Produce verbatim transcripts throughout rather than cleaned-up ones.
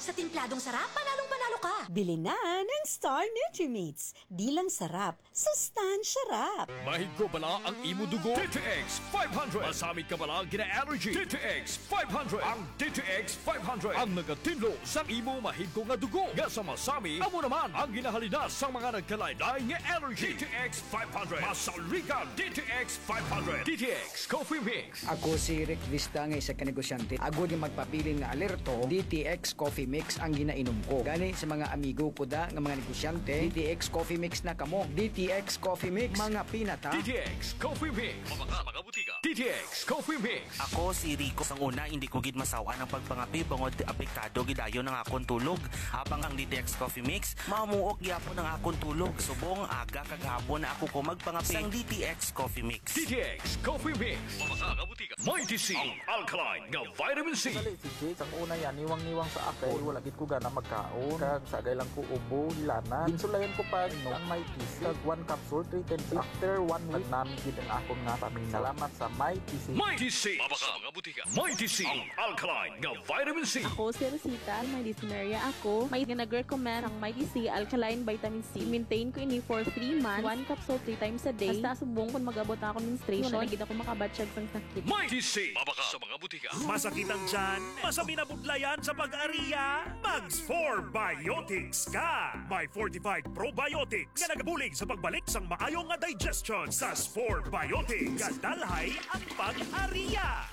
Sa timpladong sarap, panalong-panalo ka! Bili na ng Star Nutrimates. Di lang sarap, sustansya rap. Mahigko bala ang imo dugo? D T X five hundred. Masami ka bala gina-allergy? D T X five hundred. Ang D T X five hundred ang nagatinlo sa imo mahigko nga dugo. Nga sa masami, amo naman ang ginahalina sa mga nagkalain-lain nga allergy. D T X five hundred. Masaligan, D T X five hundred. D T X Coffee Mix. Ako si Rick Vista nga isa ka negosyante. Agod nga magpabilin nga alerto, D T X Coffee Mix ang ginainom ko. Gani sa mga amigo ko da nga mga negosyante, D T X Coffee Mix na kamo. D T X Coffee Mix, mga pinata. D T X Coffee Mix. Mga, mga butika. D T X Coffee Mix. Ako si Rico. Sang una, hindi ko gid masawan ang pagpangapi bangod apektado gid dayon ang akon tulog. Habang ang D T X Coffee Mix, mamuok gyapon ang akon tulog. Subong aga kag hapon na ako ko magpangapi sang D T X Coffee Mix. D T X Coffee Mix. Mga, mga butika. Mighty C, ang alkaline nga vitamin C. Dali, si Jake, sang una yan, niwang-niwang sa akon. Wala gid ko gana magkaon. Kag sagay lang ko ubo, hilanat. Ginsulayan ko pa, no, ang Mighty C. Kag one capsule, three times. After one week, nami gid ang akon nga paminaw. Salamat sa Mighty C. Mighty C. Mga, mga butika. Mighty C, ang alkaline nga vitamin C. Ako si Rosita, may dysmenorrhea ako. May nga nag-recommend ang Mighty C alkaline vitamin C. Maintain ko ini for three months. One capsule three times a day. Hasta subong kung mag-abot na ako menstruation, wala na gid ako makabatyag sang sakit. Mighty C. Mabaka sa mga butika. Masakit ang tiyan? Masabing nabudlayan sa pag-aria? Mag Spore Biotics ka! May fortified probiotics nga nagabulig sa pagbalik sang maayo nga digestion. Sa Spore Biotics, gadalhay ang pag-aria.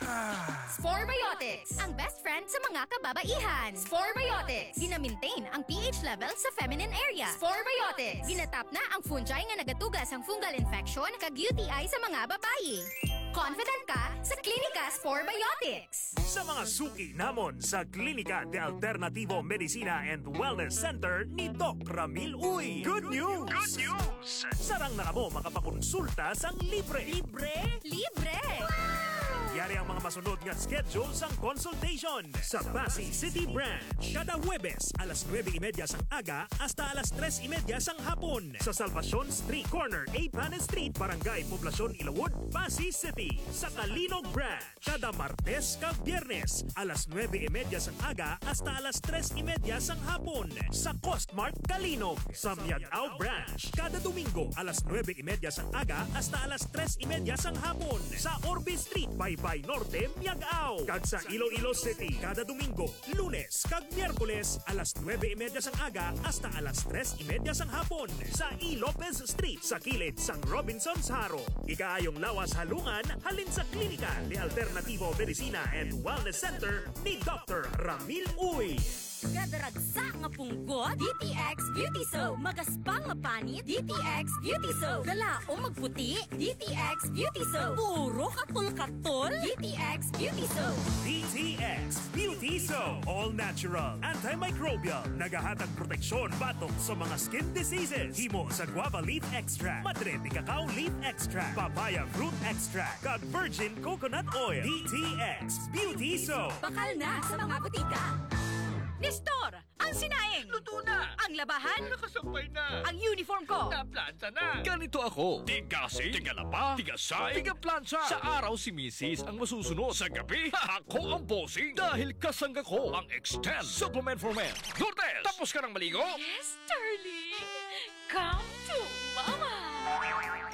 Spore Biotics, ang best friend sa mga kababaihan. Spore Biotics, gina-maintain ang P H level sa feminine area. Spore Biotics, ginatap na ang fungi nga nagatuga sang fungal infection kag U T I sa mga babayi. Confident ka sa Klinika Spore Biotics. Sa mga suki namon sa Klinika de Alternativo Medicina and Wellness Center ni Doc Ramil Uy. Good news! Good news! Sarang na kamo makapakonsulta sang libre. Libre? Libre! Yari ang mga masunod nga schedule sang consultation. Sa Passi City Branch, kada Huwebes, alas nuebe y media sang aga hasta alas tres y media sang hapon. Sa Salvacion Street, corner A Panes Street, Barangay Poblacion, Ilawod, Passi City. Sa Calinog Branch, kada Martes kag Biyernes, alas nuebe y media sang aga hasta alas tres y media sang hapon. Sa Costmart Calinog, sa Miag-ao Branch, kada Domingo, alas nuebe y media sang aga hasta alas tres y media sang hapon. Sa Orbe Street, Baybay Norte, Miag-ao. Kag sa Iloilo City, kada Domingo, Lunes kag Miyerkules, alas nuebe y media sang aga hasta alas tres y media sang hapon, sa E. Lopez Street, sa kilid sang Robinsons Jaro. Ikaayong lawas halungan halin sa Klinika de Alternativo Medicina and Wellness Center ni Doctor Ramil Uy. Gadaragsa nga punggot, D T X Beauty Soap. Magaspang nga panit, D T X Beauty Soap. Galaom magputi, D T X Beauty Soap. Puro katol-katol, D T X Beauty Soap. D T X Beauty Soap. All natural, antimicrobial. Nagahatag proteksyon batok sa mga skin diseases. Himo sa guava leaf extract, madre de cacao leaf extract, papaya fruit extract, kag virgin coconut oil. D T X Beauty Soap. Bakal na sa mga butika. Nestor, ang sinaing. Luto na. Ang labahan. Nakasampay na. Ang uniform ko. Naplansa na. Ganito ako. Tigasing, tigalaba, tigasay, tigaplantsa. Sa araw si misis ang masusunod. Sa gabi, ako ang bossing. Dahil kasangga ko ang Extend Supplement for Men. Lourdes, tapos ka nang maligo? Yes, darling. Come to Mama.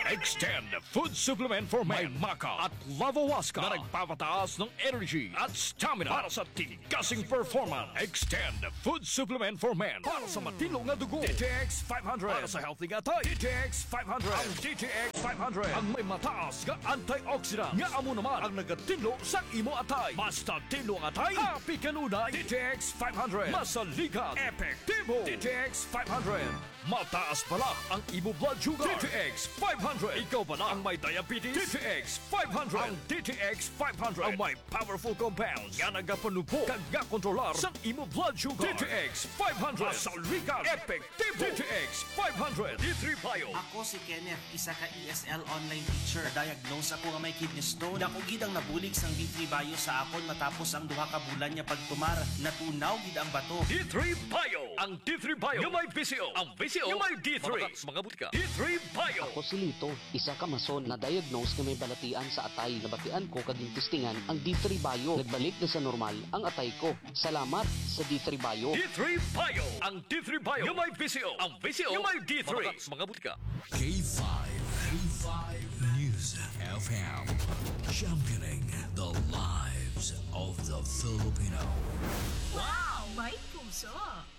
Extend Food Supplement for Men. May maca at lavawaska na nagpapataas ng energy at stamina para sa tigasing performance. Extend Food Supplement for Men para sa matino nga dugo. D T X five hundred para sa healthy nga atay. D T X five hundred. Ang D T X five hundred ang may mataas nga antioxidant nga amo naman ang nagatinlo sa imo atay. Basta tinlo ang atay, happy kanunay. D T X five hundred. Masaligan, epektibo. D T X five hundred. Mataas bala ang imo blood sugar? D T X five hundred. Ikaw bala ang may diabetes? D T X five hundred. Ang D T X five hundred ang may powerful compounds nga nagapanubo kag gakontrolar sang imo blood sugar. D T X five hundred. Masaligan, epektibo. D T X five hundred. D three Bio. Ako si Kenneth, isa ka E S L online teacher. Na-diagnose ako nga may kidney stone. Dako gid ang nabulig sang D three Bio sa akon matapos ang duha ka bulan nga pagtumar. Natunaw gid ang bato. D three Bio. Ang D three Bio nga may V C O. Ang V C O nga may D three. Mabakal sa mga butika. D three Bio. Ako si Lito, Isa ka mason na-diagnose nga may balatian sa atay. Nabatian ko kag gintistingan ang D three Bio. Nagbalik na sa normal ang atay ko. Salamat sa D three Bio. D three Bio. Ang D three Bio nga may V C O. Ang V C O nga may D three. Mabakat sa mga butika. K five, K five News F M, championing the lives of the Filipino. Wow! May puso!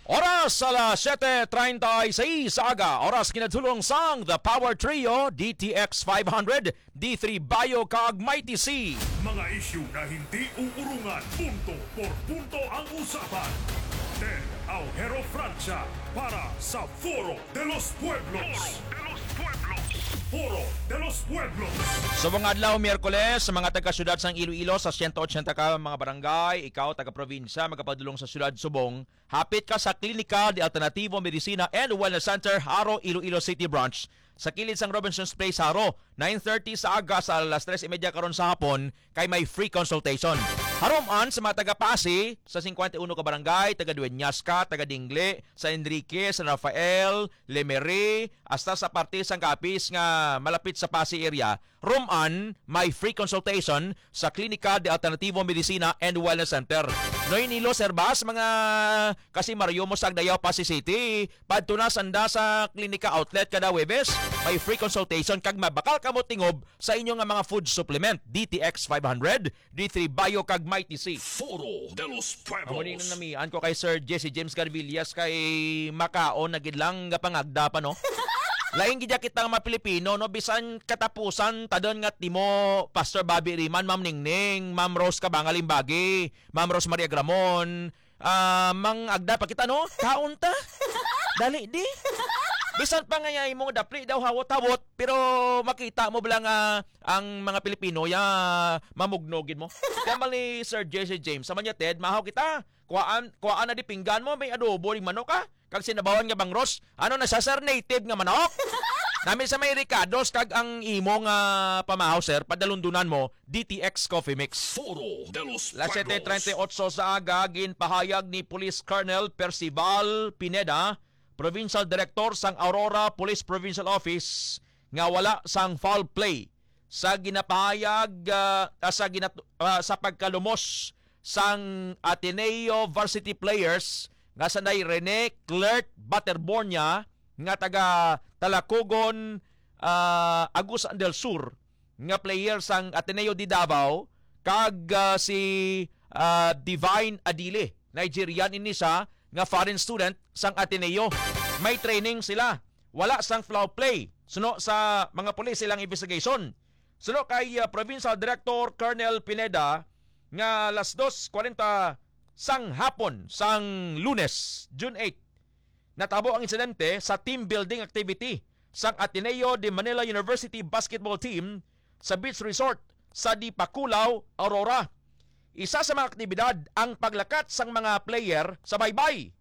Oras alas siyete treinta y seis sa aga. Oras kinadulong sang The Power Trio, D T X five hundred, D three Bio kag Mighty C. Mga isyu na hindi uurungan, punto por punto ang usapan. Ted Aujero Francia para sa Foro de los Pueblos. Foro de los Pueblos. Foro de los Pueblos. Subong adlaw, Miyerkules, sa mga taga-syudad sang Iloilo sa siyento otsenta ka mga barangay, ikaw taga-probinsya, magapadulong sa syudad subong, hapit ka sa Klinika de Alternativo Medicina and Wellness Center, Jaro, Iloilo City Branch, sa kilid sang Robinsons Place, Jaro, nine thirty sa aga sa alas tres y media karon sa hapon, kay may free consultation. Harom-an sa mga taga-Pasi, sa singkwenta y uno ka barangay, taga-Dueñas ka, taga-Dingle, San Enrique, San Rafael, Lemery, hasta sa parte sang Capiz nga malapit sa Pasi area, harom-an may free consultation sa Klinika de Alternativo Medicina and Wellness Center. Iloilo, Sir Bas, mga kasimaryo mo sa Agdayao, Pasi City, padto na sanda sa Klinika Outlet kada Huwebes. May free consultation kag mabakal kamo tingob sa inyo nga mga food supplement, D T X five hundred, D three Bio kag Mighty C. Foro de los Pueblos. Amo ni namian ko kay Sir Jesse James Garvillas kay makaon na gid lang gapangagda pa, no? Lain gid kita nga mga Pilipino, no? Bisan katapusan, tadon nga timo, Pastor Bobby Riman, Ma'am Ningning, Ma'am Rose Cabanga Limbagi, Ma'am Rose Maria Gramon, ah, mang agda pa kita, no? Kaon ta. Dali di. Bisan pa nga imong dapli daw hawot-hawot, pero makita mo bala nga ang mga Pilipino ya mamugno gid mo. Kaya mal ni Sir Jesse James, sa man niya, Ted, mahaw kita. Kuhaan, kuhaan na di pinggan mo, may adobo ning manok, ha? Kag sinabawan nga bangros. Ano na siya, sir? Native nga manok? Nami sa may ricados kag ang imo nga pamahaw, sir, padalundunan mo, D T X Coffee Mix. Foro de los Las Pueblos. Siyete treinta y ocho sa aga, ginpahayag ni Police Colonel Percival Pineda, Provincial Director sang Aurora Police Provincial Office, nga wala sang foul play sa ginapahayag, ah, ah, sa ginat-, ah, sa pagkalumos sang Ateneo varsity players nga sanday Rene Clerk Baterbornia nga taga Talacogon, ah, Agusan del Sur, nga player sang Ateneo de Davao, kag, ah, si, ah, Divine Adili, Nigerian ini siya nga foreign student sang Ateneo. May training sila. Wala sang foul play, suno sa mga pulis silang investigation. Suno kay, ah, Provincial Director Colonel Pineda, nga las dos kwarenta sang hapon sang Lunes, June eight, natabo ang insidente sa team building activity sang Ateneo de Manila University basketball team sa beach resort sa Dipakulaw, Aurora. Isa sa mga aktibidad ang paglakat sang mga player sa baybay.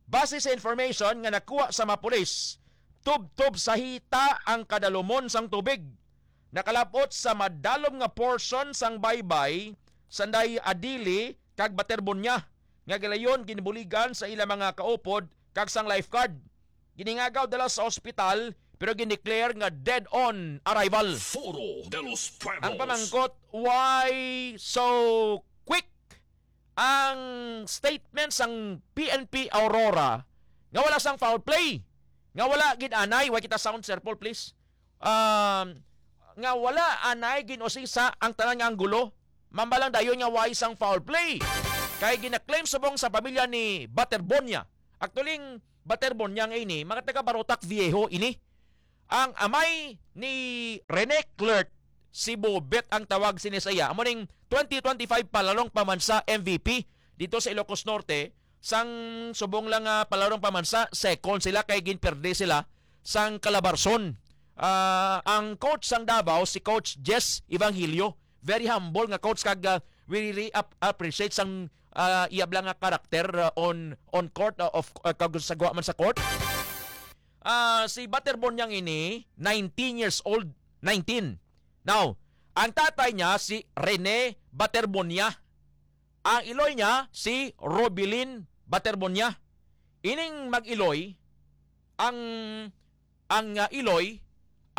Base sa information nga nakuha sa mga pulis, tubtob sa hita ang kadalumon sang tubig. Nakalab-ot sa madalom nga portion sang baybay sanday Adili kag Baterbonia, nga gilayon ginbuligan sa ila mga kaupod kag sang lifeguard. Giningagaw dala sa ospital, pero gindeclare nga dead on arrival. Foro de los Pueblos. Ang pamangkot, why so quick ang statement sang P N P Aurora nga wala sang foul play, nga wala gid anay, way kita sound, Sir Paul, please. Um, nga wala anay gin-usisa ang tanan nga anggulo, mamba lang dayon nga way sang foul play. Kay gina-claim subong sa pamilya ni Baterbonia. Actually, ang Baterbonia nga ini, mga taga Barotac Viejo ini. Ang amay ni Rene Clerk, si Bobet ang tawag sini sa iya. Amo ning twenty twenty-five Palarong Pamansa M V P dito sa Ilocos Norte, sang subong lang nga Palarong Pamansa, second sila kay ginperde sila sang Calabarzon. Ah, ang coach sang Davao, si Coach Jess Evangelio, very humble nga coach kag, ah, we really ap-, appreciate sang, ah, iya bala nga karakter, ah, on, on court, ah, of, ah, kag sa gwa man sa court. Ah, si Baterbonia ini, nineteen years old, nineteen. Now, ang tatay niya si Rene Baterbonia. Ang iloy niya si Robilin Baterbonia. Ining mag-iloy, ang, ang, ah, iloy,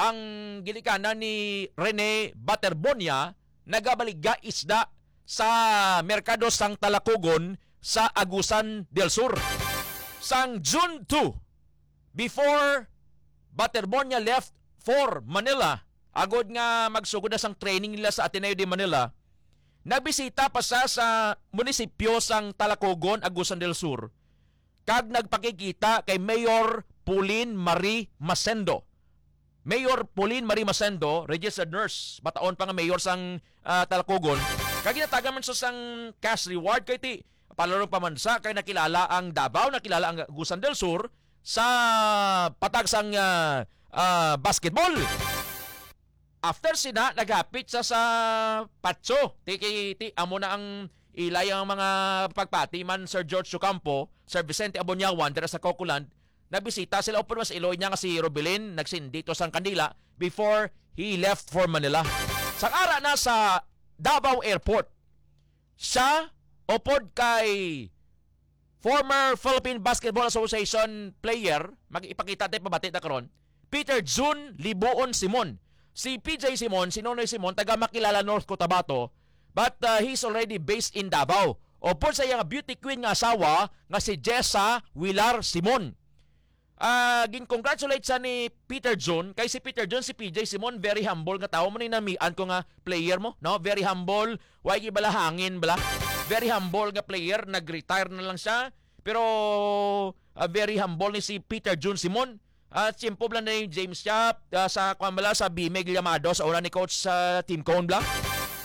ang ginikanan ni Rene Baterbonia nagabaligya isda sa Merkado Sang Talacogon sa Agusan del Sur. Sang June two, before Baterbonia left for Manila, agod nga magsugod na sang training nila sa Ateneo de Manila, nagbisita pa siya sa munisipyo sang Talacogon, Agusan del Sur, kag nagpakigkita kay Mayor Pauline Marie Masendo. Mayor Pauline Marie Masendo, registered nurse, bataon pa nga mayor sang, ah, Talacogon, kag ginatagan man sa sang cash reward kay ti palarong pamansa kay nakilala ang Davao, nakilala ang Agusan del Sur sa patag sang, ah, ah, basketball. After sina, naghapit sa, sa patso. Ti, ti, ti, amo na ang ilay ang mga pagpati man, Sir George Ocampo, Sir Vicente Abonyawan, dira sa Cocoland. Nagbisita sila, upod mas iloy niya nga si Robilin, nagsindi to sang kandila before he left for Manila. Sang ara na sa Davao Airport, siya, upod kay former Philippine Basketball Association player, mag-ipakita tayo pabati na karon, Peter Jun Libuon Simon. Si P J Simon, si Nonoy Simon, taga Makilala, North Cotabato, but, uh, he's already based in Davao. Upod sa iyang beauty queen nga asawa nga si Jessa Wilar Simon. Ah, gin-congratulate siya ni Peter Jun, kay si Peter Jun, si P J Simon, very humble nga tawo. Mo ni namian ko nga player mo, no? Very humble, way gid bala hangin bala. Very humble nga player, nag-retire na lang siya. Pero, ah, very humble ni si Peter Jun Simon. Ah, tiyempo bala ni James siya, ah, sa, kwan bala, sa Bimig Llamado, sa una ni Coach sa Team Cone bala.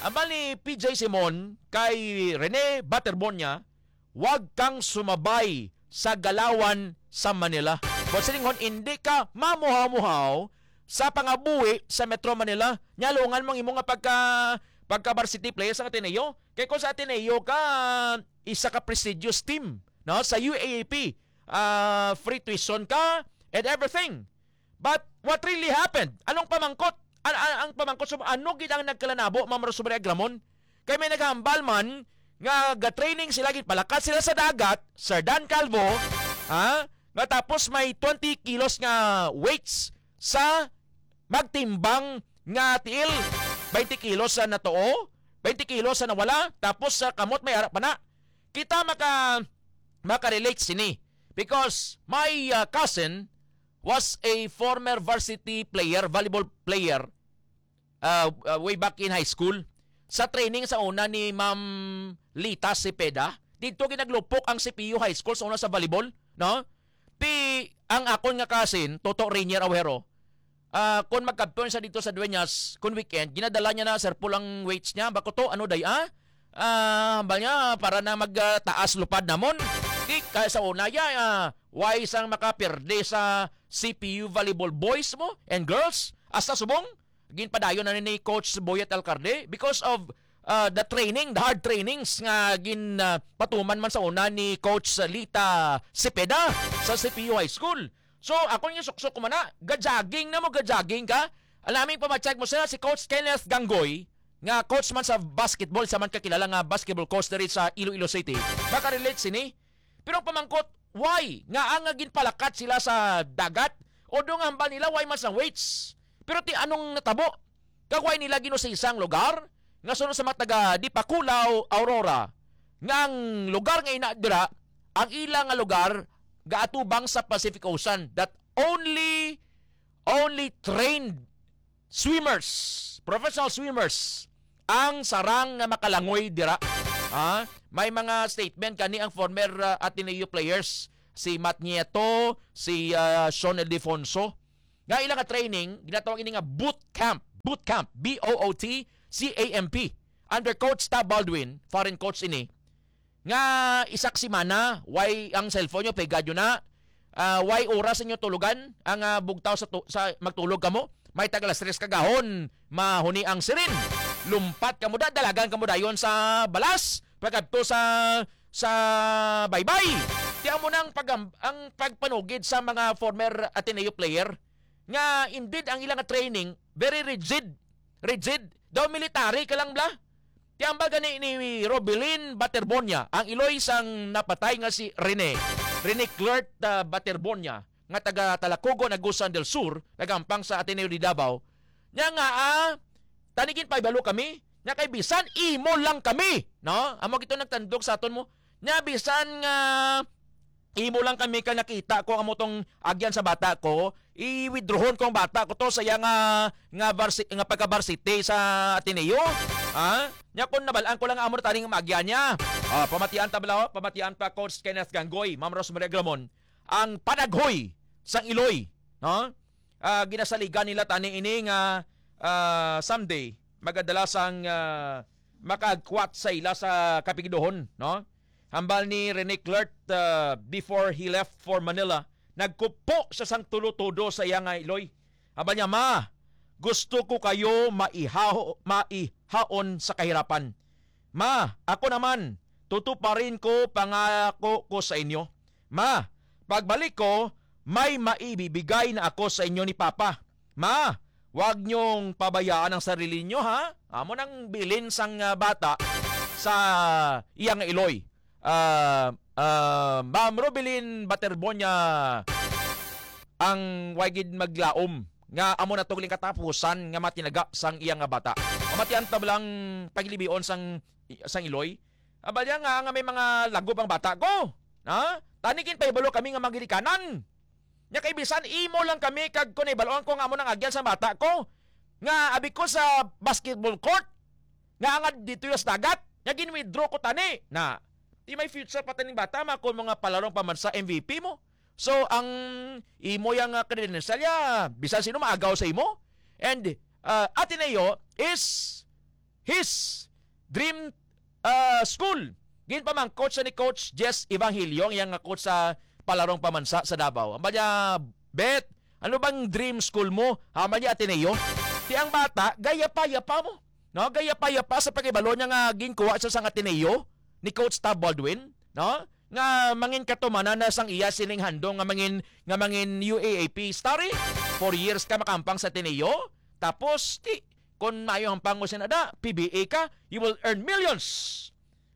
Ambal ni P J Simon kay Rene Baterbonia, wag kang sumabay sa galawan sa Manila. Buot silingon, hindi ka mamuhaw-muhaw sa pangabuhi sa Metro Manila. Nya, lungan mo ang imo nga pagka, pagka varsity player sa Ateneo. Kay kung sa Ateneo ka, isa ka prestigious team, no? Sa U A A P, ah, free tuition ka and everything. But what really happened? Anong pamangkot? An-, an-, ang pamangkot, sum-, ano gid ang nagkalanabo, Ma'am Rosemary Agramon? Kay may naghambal man nga ga-training sila, ginpalakat sila sa dagat, Sir Dan Calvo, ha? Nga tapos may twenty kilos nga weights sa magtimbang nga tiil, twenty kilos sa natuo, twenty kilos sa nawala, tapos sa kamot may ara pa na. Kita maka-, maka-relate sini because my, uh, cousin was a former varsity player, volleyball player, uh, uh, way back in high school. Sa training sa una ni Ma'am Lita Cepeda, dito ginaglupok ang C P U High School sa una sa volleyball, no? Ti ang akon nga cousin, Toto Rainier Awero, ah, kon magkampiyon siya dito sa Dueñas, kon weekend, ginadala niya na, Sir Paul, ang weights niya. Bako to, ano day, ah? Ah, hambal niya, para na mag, ah, taas lupad namon. Di, kaya sa una, ya, ah, why sang makaperde sa C P U volleyball boys mo and girls? Hasta subong, ginpadayon na ni Coach Boyet Alcarde because of, ah, the training, the hard trainings nga gin, ah, patuman man sa una ni Coach Lita Cepeda sa C P U High School. So, ako yung suksok ko man na, ga-jogging na mo, ga-jogging ka. Alaming pamacheck mo sila, si Coach Kenneth Ganggoy, nga coach man sa basketball, sa man kakilala nga basketball coach diri sa Iloilo City. Makarelate sini. Pero ang pamangkot, why? Nga ang ginpalakat sila sa dagat? O do nga hambal nila, why man sa weights? Pero ti anong natabo? Kag why nila ginusisa ang lugar? Nga suno sa mga taga Dipakulaw, Aurora, nga ang lugar nga ina dira, ang ila nga lugar gaatubang sa Pacific Ocean, that only, only trained swimmers, professional swimmers, ang sarang nga makalangoy dira. Ha? May mga statement kani ang former, uh, Ateneo players, si Matt Nieto, si, uh, Sean Ildefonso, nga ila nga training, ginatawag ini nga boot camp. Boot camp, B O O T C A M P, under Coach Tab Baldwin, foreign coach ini, nga isa ka semana, why ang cellphone nyo, pegad nyo na, ah, why oras inyo tulugan ang, ah, bugtaw sa tu-, sa magtulog kamo? May tag alas tres kagahon, mahuni ang sirin. Lumpat kamo da, dalagan kamo dayon sa balas, pagkadto sa, sa baybay. Ti amo nang pag-, ang pagpanugid sa mga former Ateneo player nga indeed ang ilang training very rigid. Rigid. Daw military ka lang bla. Ti hambal gani ni Robilin Baterbonia, ang iloy sang napatay nga si Rene, Rene Clert, ah, Baterbonia, nga taga Talacogon, Agusan del Sur, nagampang sa Ateneo de Davao, niya nga, ah, tani ginpahibalo kami, niya kay bisan imo lang kami, no? Amo gito nagtandog sa aton mo. Niya bisan nga imo lang kami ka nakita ko amo tong agyan sa bata ko, i-withdrawon ko ang bata ko to sa iya nga, nga varsi-, nga pagka-varsity sa Ateneo. Ha? Niya kung nabalaan ko lang amo na taning maagyan niya. Ah, pamatian ta bala, oh. Pamatian pa Coach Kenneth Ganggoy, Ma'am Rosemary Agramon, ang panaghoy sang Iloy, no? Ah, ginasaligan nila tani ini nga, ah, someday magadala sang, ah, makagkwat sa ila sa kapigdohon, no? Hambal ni Rene Clert, ah, before he left for Manila, nagkupo siya sang tulo-tudo sa iya nga iloy. Hambal niya, "Ma, gusto ko kayo maihaho-, maihaon sa kahirapan. Ma, ako naman, tutuparin ko pangako ko sa inyo. Ma, pagbalik ko, may maibibigay na ako sa inyo ni Papa. Ma, wag niyong pabayaan ang sarili niyo, ha?" Amo nang bilin sang, ah, bata sa iya nga iloy. Ah, ah, Ma'am Robilin Baterbonia, ang way gid maglaom nga amo na to gali ang katapusan nga matinaga sang iya nga bata. Pamatian ta lang paglibion sang, sang iloy. Aba niya nga, nga may mga lagop ang bata ko. Ha? Tani ginpahibalo kami nga mga ginikanan. Nya kay bisan imo lang kami kag kon nahibaloan ko nga amo nang agyan sa bata ko nga abi ko sa basketball court nga angad dito sa dagat nga gin-withdraw ko tani na di may future pa taning bata ma kon mga palarong pamansa M V P mo. So ang imo yang, ah, credential ya bisan sino maagaw sa imo. And, ah, Ateneo is his dream, ah, school. Ginpamangkot siya ni Coach Jess Evangelio, ang iyang nga coach sa palarong pamansa sa Davao. Ang niya, "Bet, ano bang dream school mo?" Hambal niya, "Ateneo." Ti ang bata, gayapa-yapa mo. No? Gayapa-yapa sa pagkabalo niya nga ginkuha siya sa Ateneo ni Coach Tab Baldwin. No? Nga mangin katumanan na sang iya sining handom nga mangin, nga mangin U A A P. Starry, four years ka makampang sa Ateneo. Tapos, ti, kon maayo ang pangos na da, P B A ka, you will earn millions.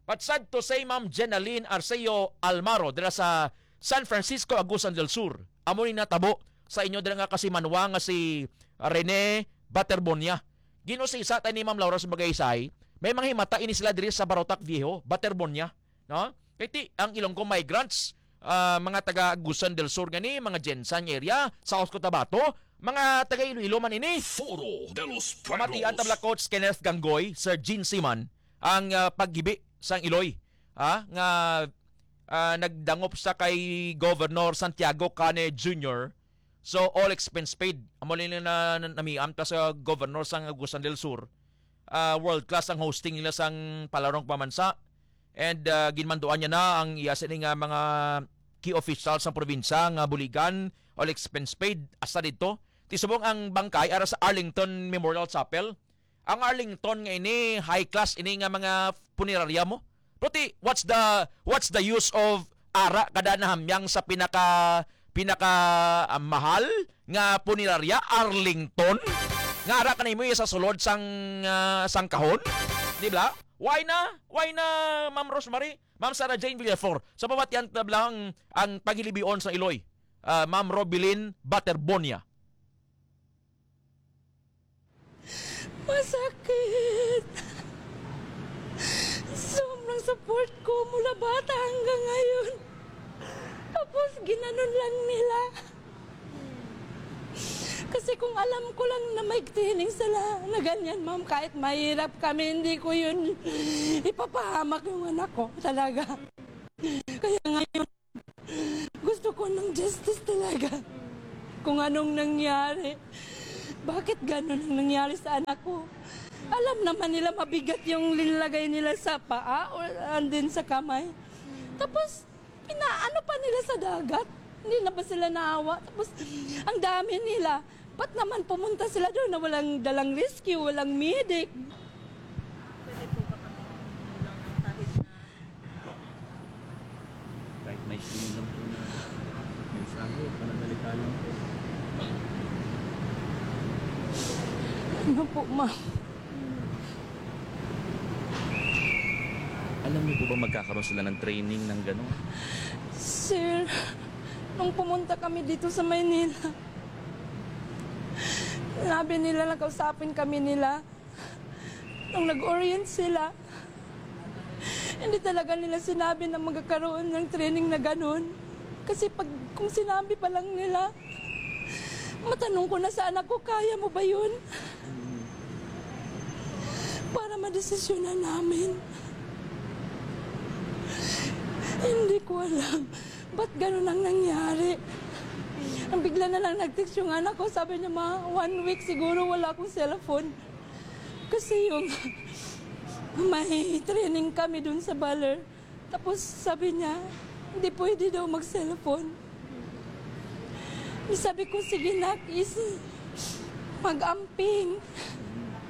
But sad to say, Ma'am Jenaline Arceo Almaro, dira sa San Francisco, Agusan del Sur, amo ni natabo sa inyo dira nga kasimanwa nga si Rene Baterbonia. Ginusisa ta ni Ma'am Laura sa Magaysay, may mga himata ini sila diri sa Barotac Viejo, Baterbonia, no? Kay ti, ang Ilonggo migrants, ah, mga taga Agusan del Sur gani, mga Gensan area, South Cotabato, mga taga Iloilo man ini. Foro de los Pamatian Pueblos. Tabla Coach Kenneth Ganggoy, Sir Gene Siman, ang, ah, paghibi sang iloy, ah, nga, ah, nagdangop sa kay Governor Santiago Cane Junior. So, all expense paid. Amo lang na, na namian ta sa Governor sang Agusan del Sur. Ah, world class ang hosting nila sang palarong pamansa. And, ah, ginmanduan niya na ang iya sini nga mga key officials sang probinsya nga buligan, all expense paid, hasta didto. Ti subong ang bangkay ara sa Arlington Memorial Chapel. Ang Arlington nga ini, high class ini nga mga punerarya mo. Pero ti, what's the, what's the use of ara kada nahamyang sa pinaka, pinaka, ah, mahal nga punerarya, Arlington? Nga ara ka na imo sa sulod sang, ah, sang kahon? Di ba? Why na? Why na, Ma'am Rosemary? Ma'am Sarah Jane Villafor, sa pamatian ta lang ang paghilibion sa iloy, ah, Ma'am Robilin Baterbonia. Masakit. Sobrang support ko mula bata hanggang ngayon. Tapos ginanon lang nila. Kasi kung alam ko lang na may training sila na ganyan, ma'am, kahit mahirap kami, hindi ko yun ipapahamak yung anak ko talaga. Kaya ngayon, gusto ko ng justice talaga. Kung anong nangyari, bakit ganun ang nangyari sa anak ko? Alam naman nila mabigat yung linlagay nila sa paa o and then sa kamay. Tapos, pinaano pa nila sa dagat? Hindi na ba sila naawa? Tapos, ang dami nila. Ba't naman pumunta sila doon na walang dalang rescue, walang medic? Pwede po ba kami tulungan kahit na Kahit may sino lang po na mensahe, pananalita lang po. Ano po, ma'am? Alam niyo po ba magkakaroon sila ng training ng gano'n? Sir, Nung pumunta kami dito sa Maynila, sinabi nila, nakausapin kami nila. Nung nag-orient sila, hindi talaga nila sinabi na magkakaroon ng training na ganun. Kasi pag, kung sinabi pa lang nila, matanong ko na sa anak ko, "Kaya mo ba yun?" Para madesisyonan namin. Hindi ko alam ba't ganun ang nangyari. Ang bigla na lang nag-text yung anak ko, sabi niya, "Ma, one week siguro wala akong cellphone." Kasi yung may training kami dun sa Baler. Tapos sabi niya, hindi pwede daw mag-cellphone. Sabi ko, "Sige, nak, is mag-amping."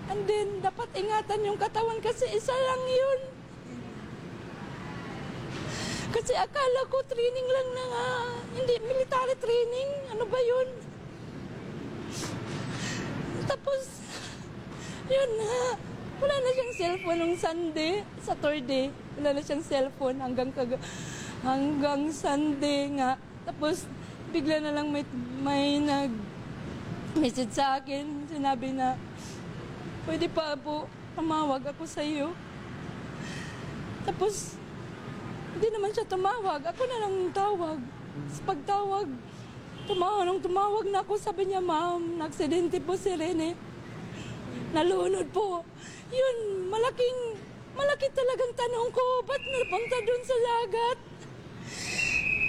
And then, dapat ingatan yung katawan kasi isa lang yun. Kasi akala ko training lang na nga, hindi military training. Ano ba yun? Tapos, yun na. Wala na siyang cellphone nung Sunday, Saturday. Wala na siyang cellphone hanggang kag-, hanggang Sunday nga. Tapos, bigla na lang may, may nag-message sa akin. Sinabi na, "Pwede pa po, tumawag ako sa iyo." Tapos, hindi naman siya tumawag. Ako na lang tawag. Sa pagtawag, tumawag, nung tumawag na ako, sabi niya, "Ma'am, naaksidente po si Rene. Nalunod po." Yun, malaking, malaki talagang tanong ko, ba't napunta dun sa dagat?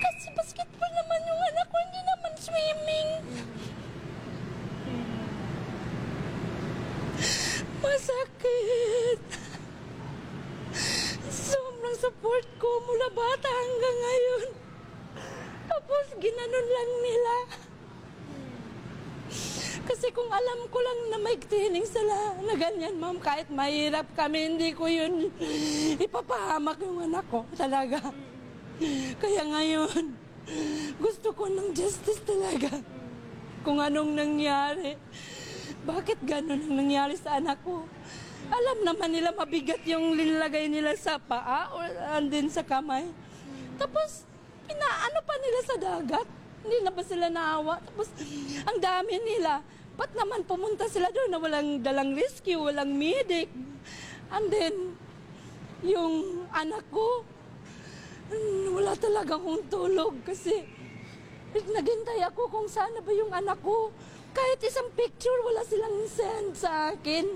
Kasi basketball naman yung anak ko, hindi naman swimming. Masakit. Sobrang support ko mula bata hanggang ngayon. Tapos ginanon lang nila. Kasi kung alam ko lang na may training sila na ganyan, ma'am, kahit mahirap kami, hindi ko yun ipapahamak yung anak ko talaga. Kaya ngayon, gusto ko ng justice talaga. Kung anong nangyari, bakit ganun ang nangyari sa anak ko? Alam naman nila mabigat yung linlagay nila sa paa o and then sa kamay. Tapos, pinaano pa nila sa dagat. Hindi na ba sila naawa? Tapos, ang dami nila. Ba't naman pumunta sila doon na walang dalang rescue, walang medic? And then, yung anak ko, mm, wala talaga akong tulog kasi naghintay ako kung saan na ba yung anak ko. Kahit isang picture, wala silang send sa akin.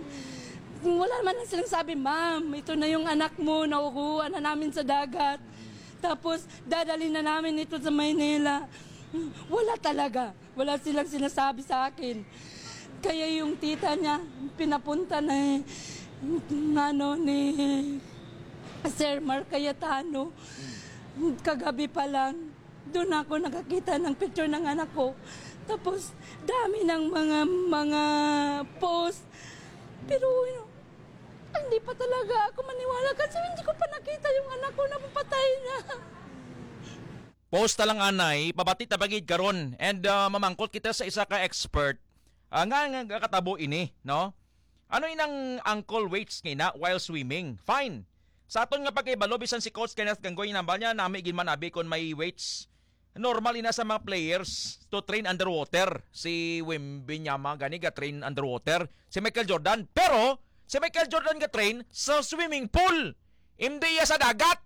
Wala man lang silang sabi, "Ma'am, ito na yung anak mo, nakukuha na namin sa dagat. Tapos, dadalhin na namin ito sa Maynila." Wala talaga. Wala silang sinasabi sa akin. Kaya yung tita niya, pinapunta na eh, ng ano, ni Sir Mark Cayetano. Kagabi pa lang, doon ako nakakita ng picture ng anak ko. Tapos, dami ng mga, mga post. Pero, hindi pa talaga ako maniwala kasi hindi ko pa nakita yung anak ko na patay na. Post ta lang anay, pabati ta bagid karon. And uh, mamangkot kita sa isa ka expert uh, nga, nga katabo ini, no? Ano inang uncle waits ngina while swimming? Fine. Sa aton nga pagkahibalo, bisan si Coach Kenneth Ganggoy, nambal niya, nami gid man abi kon may waits. Normal ina sa mga players to train underwater. Si Wimbinyama gani ga train underwater. Si Michael Jordan. Pero, si Michael Jordan ga train sa swimming pool. Hindi iya sa dagat.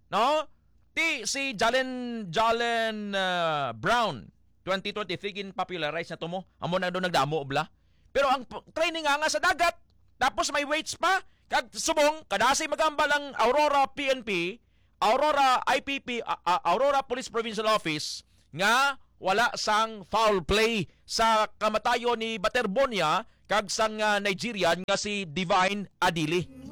No? Ti si Jalen, Jalen uh, Brown, twenty twenty-three, gin-popularize na to mo. Amo na doon nagdamo, bla. Pero ang training nga, nga sa dagat, tapos may weights pa, kag subong, kadasi magambal ang Aurora P N P, Aurora I P P, uh, uh, Aurora Police Provincial Office, nga wala sang foul play sa kamatayon ni Baterbonia kag sang uh, Nigerian nga si Divine Adili.